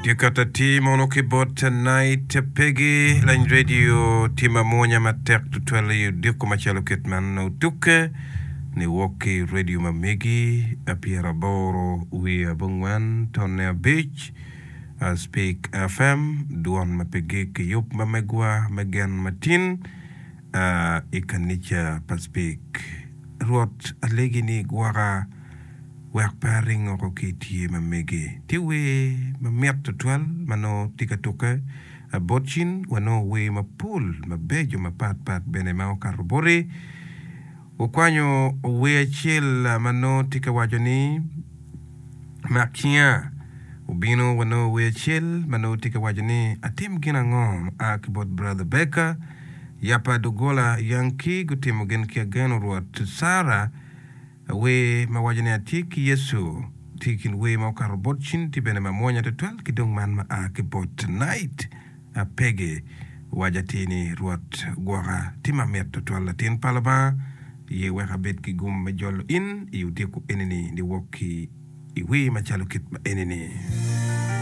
Tye ka atir mono ki bot Night Peggy lany radio tye mamwonya matek tutwal i odiko macalo kit man otukke niwok ki radio ma megi 85 .5 Speak FM dwon ma pe gik yub ma megwa me gen matin i kanica pa Speak. Rwot alegi ni igwoka wek pe aring oko ki i tye ma megi. Tye wer mamit tutwal ma nongo tye ka tukke bot cin. Wanongo wer mapol mabeco mapatpat bene ma okato boti. Wukwanyo wer acel ma nongo tye ka waco ni, Mak cinga. Obino wanongo wer acel ma nongo tye ka waco ni, Atim gin ango ma a ki bot Brother Baker? Yapa doggola Yankee gutimo gin ki ageno Rwot Sarah wer ma waco ni Atye ki Yecu tye i kin wer ma okato bot cin tye bene ma mwonya tutwal ki dong man ma a ki bot Night Peggy waco atir ni Rwot gwoka tye ma mit tutwal latin pa Lubanga ye wek abed ki gum me jolo in i odiko enini niwok ki i wer macalo kit ma enini.